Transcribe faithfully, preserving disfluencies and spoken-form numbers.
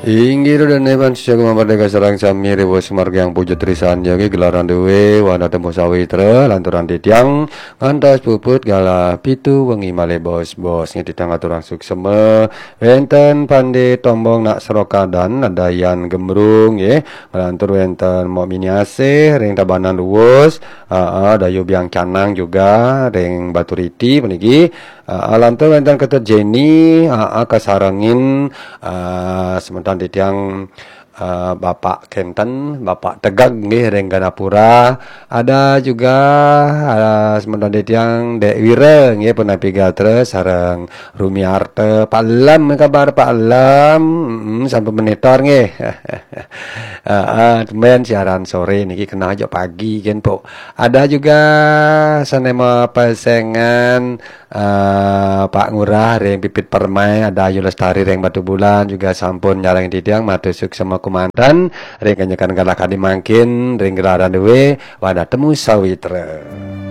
Inggih ro dene pan sisa Gema Merdeka sareng sami ri wus margiang puja trisan ya nggih gelaran duwe wana temu sawitra lanturan titiang ngantos puput galah pitu wengi malih bos-bos nggih titiang aturang suksema wenten Pande Tombong nak Serokadan Nadayan Gembrung nggih nglantur wenten Mok Mini Asih ring Tabanan Luwus, aa, Dayu Biang Canang juga ring Baturiti puniki. Aa, lantur wenten Ketut Jenny, aa, kasarengin, aa, semeton titiang, aa, Bapak Kenten, Bapak Tegeg nggih ring Ganapura. Ada juga, aa, semeton titiang Dek Wira nggih punapi gatra sareng Rumiarta. Pak Lem, kabar Pak Lem? Mm, sampun monitor nggih. Aa, tumben siaran sore niki kena aja pagi kan, Pok. Ada juga sane mapesengan, eh, Pak Ngurah ring Pipit Permai, ada Ayu Lestari ring Batubulan juga sampun nyarengin titiang matur suksema kumanten ring kenyekan galah kadi mangkin ring gelaran duwe wana temu sawitra.